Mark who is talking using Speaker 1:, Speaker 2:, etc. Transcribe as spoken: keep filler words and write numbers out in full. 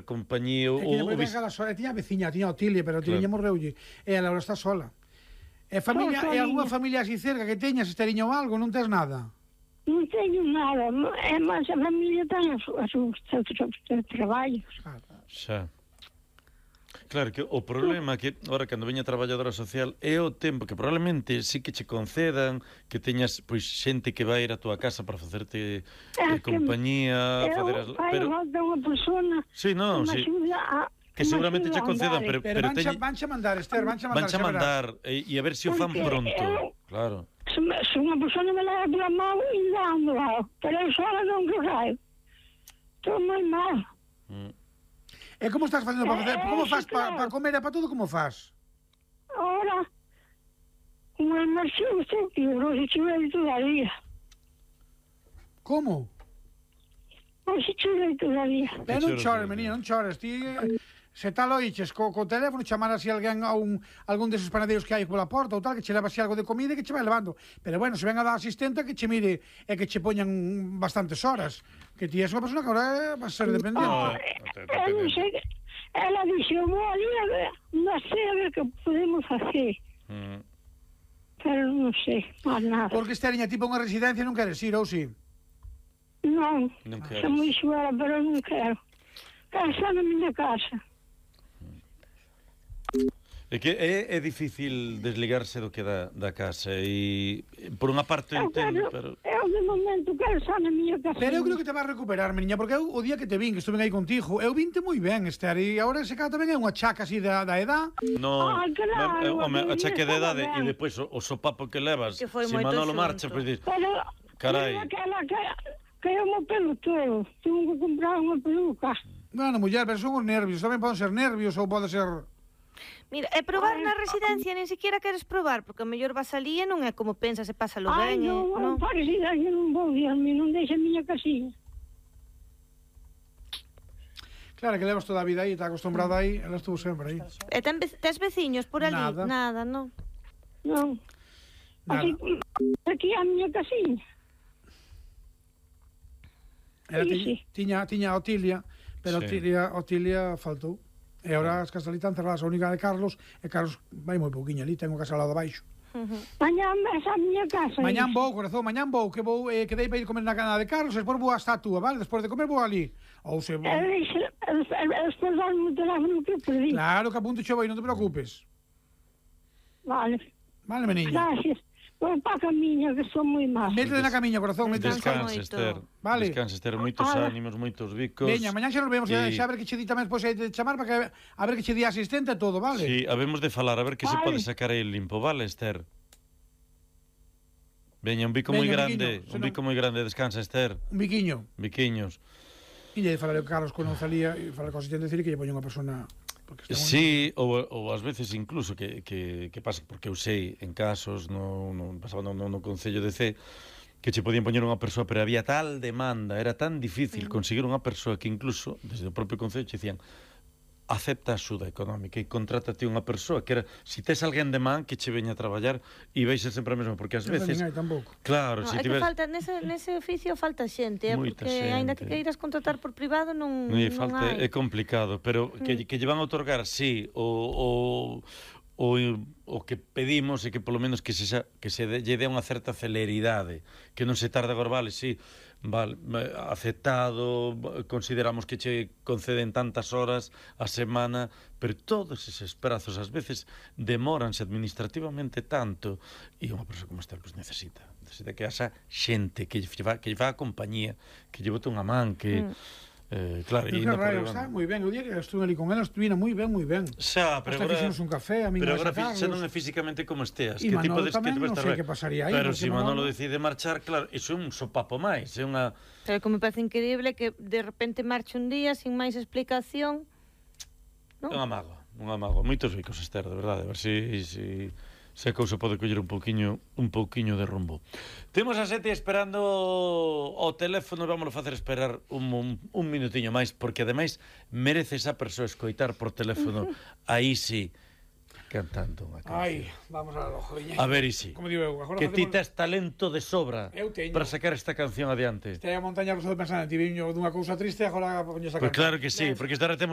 Speaker 1: facer compañía o,
Speaker 2: E
Speaker 1: o,
Speaker 2: tiña, sola, tiña a veciña, tiña a Otilia, pero a Otilia claro. morreulle. E ela agora está sola. E familia, e algunha familia así cerca que teñas, Esteriño ou algo, non tes nada?
Speaker 3: Non teño nada, é máis a familia ten os seus traballos.
Speaker 1: Xa. Claro, que o problema é que, ora, cando veña a traballadora social, é o tempo que probablemente sí que che concedan, que teñas, pois, xente que vai ir a túa casa para facerte eh, compañía, facer as...
Speaker 3: Pero falta unha persona
Speaker 1: sí, no,
Speaker 3: que
Speaker 1: sí.
Speaker 3: me axuda a...
Speaker 1: Que seguramente che concedan, pero...
Speaker 2: Pero, pero vancha, teñe... vancha mandar, Esther, vancha mandar.
Speaker 1: Vancha mandar, e, e a ver se o fan pronto, eu, claro.
Speaker 3: Se, se unha persona me leva pela mão e dando, pero eu sola non que raio. Estou moi mal.
Speaker 1: Mm.
Speaker 2: E como estás facendo para facer? Como faz para pa comer e para todo, como faz?
Speaker 3: Ora, unha inmersión que eu non se chuvei todavía.
Speaker 2: Como?
Speaker 3: Non se chuvei todavía.
Speaker 2: Ben, non chores, menina, non chores. Ti, se tal oiches co, co teléfono, chamar así alguén a un, algún deses panadeiros que hai pola porta ou tal, que che leva así algo de comida e que che vai levando. Pero bueno, se ven a dar asistente que che mire e que che poñan bastantes horas. Que ti és unha persona que agora vai ser dependente.
Speaker 3: Oh, eu non sei, ela dixo, vou ali a ver, non sei a ver que podemos facer. Mm. Pero non sei, máis nada.
Speaker 2: Porque Esteriña, tipo unha residencia non queres ir, ou si?
Speaker 3: Non, non quero. Son moi xuera, pero non quero. Quero estar na miña casa.
Speaker 1: É que é, é difícil desligarse do que da, da casa e por unha parte entendo, pero...
Speaker 3: Eu de momento quero estar na miña casa.
Speaker 2: Pero eu creo que te vas recuperar, meniña, porque eu o día que te vin, que estuve aí contigo, eu vinte moi ben, Esther, e agora ese cara tamén é unha chaca así da, da edad.
Speaker 1: No,
Speaker 3: ah, claro,
Speaker 1: home, a chaca de edade e depois o, o sopapo que levas, se si Manolo marcha, pois pues, dis, carai.
Speaker 3: Pero que, que eu mo pelo todo, tengo que comprar unha peluca.
Speaker 2: Bueno, muller, pero son os nervios, tamén poden ser nervios ou pode ser...
Speaker 4: Mira, e probar na residencia nin siquiera queres probar, porque a mellor vas ali e non é como pensas e pasa lo ben.
Speaker 3: Ai, non, non, para residencia non vou, Dios mío, non deixa a miña casiña.
Speaker 2: Claro, que levas toda a vida aí, está acostumbrada aí, ela estuvo sempre aí.
Speaker 4: E ten, tes veciños por ali?
Speaker 2: Nada.
Speaker 4: Nada, non?
Speaker 3: Non. Aquí, aquí a miña casiña.
Speaker 2: Ela sí, tiña, tiña a Otilia, pero sí. Otilia, Otilia faltou. E agora as casas ali están cerradas, a única de Carlos, e Carlos vai moi pouquiño ali, tengo casa ao lado abaixo.
Speaker 3: Uh-huh. Mañán esa miña casa.
Speaker 2: Mañán vou, corazón, mañán vou, que vou, eh, que dei para ir comer na cana de Carlos, e despois vou á estatua, vale? Despois de comer vou ali. Ou se vou...
Speaker 3: E despois darme o teléfono que perdí.
Speaker 2: Claro, que apunto che vou, non te preocupes.
Speaker 3: Vale.
Speaker 2: Vale, meniña.
Speaker 3: Gracias. Vou para a camiña, que son moi mal.
Speaker 2: Métete na camiña, corazón.
Speaker 1: Descansa, Esther.
Speaker 2: Vale.
Speaker 1: Descansa, Esther. Moitos ah, ánimos, moitos bicos.
Speaker 2: Veña, mañá xa nos vemos, e... xa a ver que che di tamén despois de chamar, para que a ver que che di asistente e todo, vale?
Speaker 1: Sí, habemos de falar, a ver que vale. Se pode sacar aí limpo, vale, Esther? Veña, un bico moi grande, un bico moi grande, descansa, Esther.
Speaker 2: Un biquiño.
Speaker 1: Biquiños.
Speaker 2: E lle falaré con Carlos con Nozalía e falar con o asistente, decir que lle poña unha persona...
Speaker 1: Sí, ou, ou ás veces incluso que, que, que pasa, porque eu sei en casos no, no, pasaba no, no, no Concello de C que che podían poñer unha persoa, pero había tal demanda, era tan difícil conseguir unha persoa que incluso desde o propio Concello che dicían acepta a axuda económica e contrátate unha persoa que era, si tes alguén de man que che veña a traballar e vais ser sempre a mesma, porque ás veces
Speaker 2: non hai tampouco.
Speaker 1: Claro,
Speaker 4: no,
Speaker 1: si
Speaker 4: é
Speaker 1: tiver...
Speaker 4: que falta nese, nese oficio falta xente, eh, porque xente. Aínda que queiras contratar por privado non, non,
Speaker 1: non falta,
Speaker 4: hai.
Speaker 1: É complicado, pero mm. que, que lle van a otorgar, sí, o, o o, o que pedimos é que polo menos que se, que se lle dé unha certa celeridade, que non se tarde agora, vale, sí, vale, aceptado, consideramos que che conceden tantas horas a semana, pero todos eses prazos ás veces demóranse administrativamente tanto, e unha persoa como esta pues, necesita, necesita que haxa xente que lle fa, que lle fa a compañía, que lle bote unha man, que... Mm. Eh, claro,
Speaker 2: pero que raro, está moi ben, o día que estuve ali con ela estuvina moi ben, moi ben.
Speaker 1: Xa, pero
Speaker 2: hasta fixemos un café, a mí
Speaker 1: pero agora xa non é físicamente como esteas,
Speaker 2: e
Speaker 1: que
Speaker 2: Manolo
Speaker 1: tipo de
Speaker 2: tamén,
Speaker 1: que
Speaker 2: non sei que pasaría aí.
Speaker 1: Pero se si Manolo decide marchar, claro, iso é un sopapo máis, é unha...
Speaker 4: Pero como me parece increíble que de repente marche un día sin máis explicación,
Speaker 1: non? Un amago, un amago, moitos ricos, Esther, de verdade, a ver se... si, si... se a cousa pode coller un pouquiño un pouquiño de rumbo. Temos a Sete esperando o teléfono, vámonos facer esperar un, un, un minutiño máis, porque ademais merece esa persoa escoitar por teléfono aí sí cantando unha canción.
Speaker 2: Ai, vamos a lo joviña.
Speaker 1: A ver, Isi,
Speaker 2: como digo eu,
Speaker 1: que ti tes talento de sobra para sacar esta canción adiante.
Speaker 2: Este é a montaña rusa de pensar, ti viño dunha cousa triste, agora poño esa canción.
Speaker 1: Pois claro que sí, porque esta hora temos